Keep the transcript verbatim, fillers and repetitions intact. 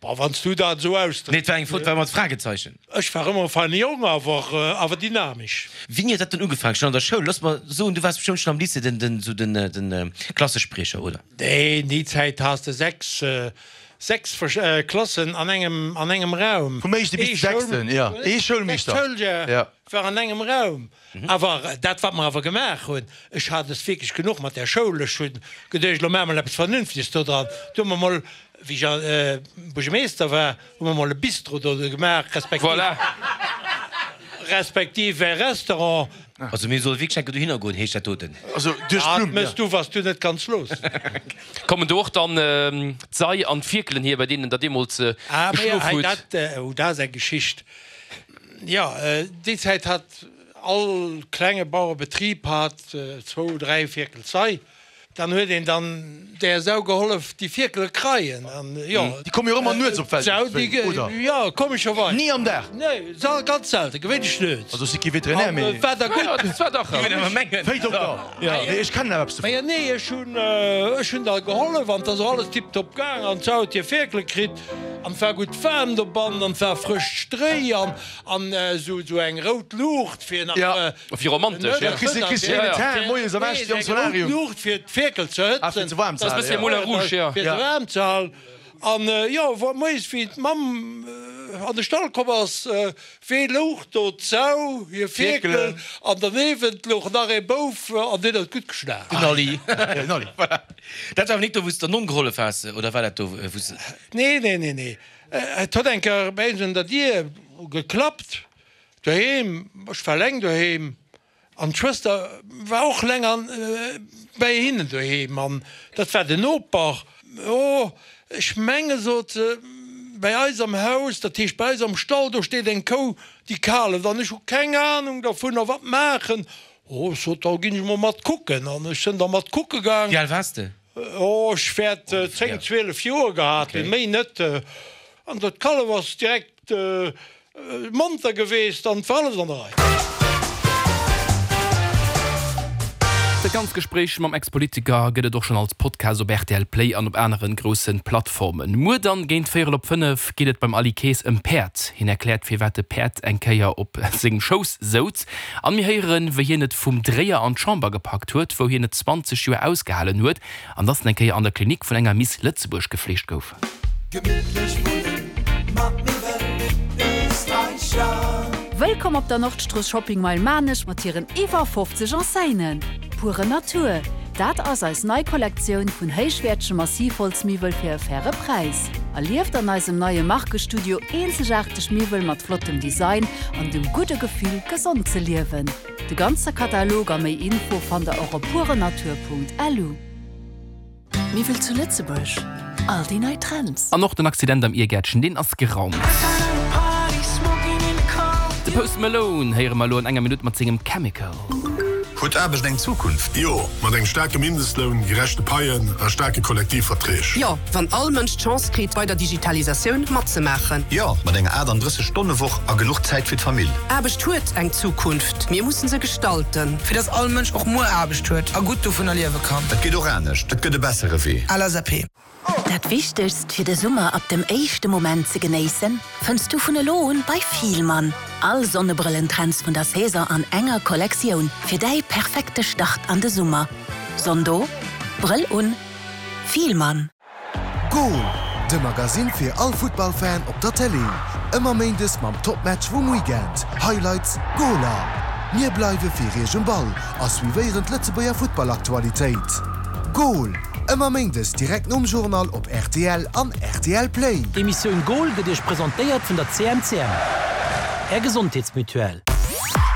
Boah, wann s du dat esou ausdrécks. Nee, et war eng Fro, et war mat Fragezeichen. Ech war ëmmer e feine Jong, awer, awer dynamesch. Wéini huet dat dann ugefaangen? Schonn an der Schoul? Looss mer soen, du waars bestëmmt schonn am Lycée den, den, sou den, den Klassespriecher, oder? Nee, déi Zäit has de sechs, sechs Klassen an engem, an engem Raum. Vum éischte bis de sechsten, jo. Ee Schoulmeeschter. Sechs Schouljoer war an engem Raum. Awer dat, wat mer awer gemaach hunn, ech hat es wierklech genuch mat där Schoul, ech hunn geduecht, elo maache mer eppes Vernünftiges do dran. Do hu mer mol, wéi ech Buergermeeschter war, hu mer mol e Bistro do gemaach, respektiv, respektiv e Restaurant. Also mir solle wierklech enke dohinner goen, heescht dat doten? Also duerch d'Blumm, jo. Dat méchs du, wann s du net kanns loossen. Kommen do och dann d'Sei an d'Fierkelen hier, bei deenen der deemools geschlof hutt? Ah, dat, oh, dat ass eng Geschicht. Jo, déi Zäit hat all klenge Bauerebetrib hat zwou, dräi Fierkel Sei. Dann huet een dann där Sau gehollef déi Fierkele kreien an jo. Déi komme jo ëmmer nuets op d'Welt, D'Sau déi, oder? Jo, komescherweis. Ni am Dag? Nee, ganz selten, gewéinlech nuets. Also ech si kee Veterinär, mee. An war da gutt. Dat war dach. Wéi Dokter? Nee, ech kennen awer eppes dovun. Majo, nee, ech hunn, ech hunn da gehollef an 't ass och alles tiptop gaang an d'Sau huet hir Fierkele kritt an 't war gutt waarm dobannen an 't war frëscht Stréi an An esou eng rout Luucht fir nach. Ja, fir romantesch, ja. Kriss kriss schéinen Teint moies erwächt am Solarium. Eng rout Luucht fir d'Fierkel ze hëtzen. Ah, fir ze waarm ze halen. Dat ass e bëssi Moulin Rouge, ja. Fir ze waarm ze halen. An jo, moies wéi d'Mamm an de Stall komm ass, wéi louch do d'Sau, hir Fierkel, an derniewent louch nach ee Bouf an deen huet gutt geschnaacht. Den Ali. Den Ali. Voilà. Dat war awer nik do, wou s de der Nonn gehollef has, oder war dat do, wou s. Nee, nee, nee, nee. Et huet eng Kéier bei eis un der Dier geklappt, doheem, ech war eleng doheem an d'Schwëster war och eleng an bäi hinnen doheem an dat war den Noper. Oh, ech menge sot se, bäi eis am Haus, dat heescht bäi eis am Stall, do steet eng Kou, déi kaleft an ech hu keng Anung dervunner wat maachen. Oh, sot, da ginn ech mol mat kucken an ech sënn da mat kucke gaang. Wéi al waars de? Oh, ech wäert zéng, zwielef Joer gehat hunn, méi net. An dat Kallef ass direkt monter geweest an et war alles an der Rei. Dat ganzt Gespréich mam Ex-Politiker gëtt et och schonn als Podcast op rtl Play an op aneren groussen Plattformen. Muer dann géint véierel op fënnef geet et beim Aly Kaes ëm Päerd. Hien erkläert firwat de Päerd eng Kéier op sengem Schouss souz an mir héieren wéi hien et vum Dréier an d'Chamber gepackt huet, wou hien et zwanzeg Joer ausgehalen huet an dass en eng Kéier an der Klinik vun enger Miss Lëtzebuerg gefleegt gouf. Gemittlech wunnen mat Miwwel Österreicher. Wëllkomm op der Nordstrooss Shopping Mile Maarnech mat hiren iwwer fofzeg Enseignen. Pure Natur, dat ass eis nei Kollektioun vun héichwäertege Massivholzmiwwel fir e faire Präis. Erlieft an eisem neie Markestudio eenzegaarteg Miwwel mat flottem Design an dem gudde Gefill, gesond ze liewen. De ganze Katalog a méi Info fannt der och op purenatur.lu. Miwwel zu Lëtzebuerg, all déi nei Trends. An och den Accident am Iergäertchen, deen ass geraumt. De Post Malone héiere mer elo an enger Minutt mat sengem Chemical. Huet Aarbecht eng Zukunft? Jo, mat engem staarke Mindestloun, gerechte Paien a staarke Kollektivverträg. Jo, wann all Mënsch d'Chance kritt, bei der Digitalisatioun matzemaachen. Jo, mat enger achtandrësseg Stonne Woch a genuch Zäit fir d'Famill. Aarbecht huet eng Zukunft, mir mussen se gestalten. Fir dass all Mënsch och muer Aarbecht huet a gutt dovunner liewe kann. Et geet och anescht, et gëtt e bessere Wee. LSAP. Dat Wichtegst fir de Summer ab dem éischte Moment ze genéissen, fënns du vun elo un bei Fielmann. All Sonnebrëllentrends vun der Saison an enger Kollektioun fir däi perfekte Start an de Summer. Sonn do, Brëll un, Fielmann. Goal, de Magasinn fir all Futtballfan op der Télé. Ëmmer Méindes mam Topmatch vum Weekend, Highlights, Goaler. Mir bleiwe fir Iech um Ball a suivéieren d'Lëtzebuerger Futtballaktualitéit. Goal, ëmmer Méindes direkt nom Journal op rtl an rtl Play. D'Emissioun Goal gëtt Iech presentéiert vun der C M C M, Är Gesondheetsmutuelle.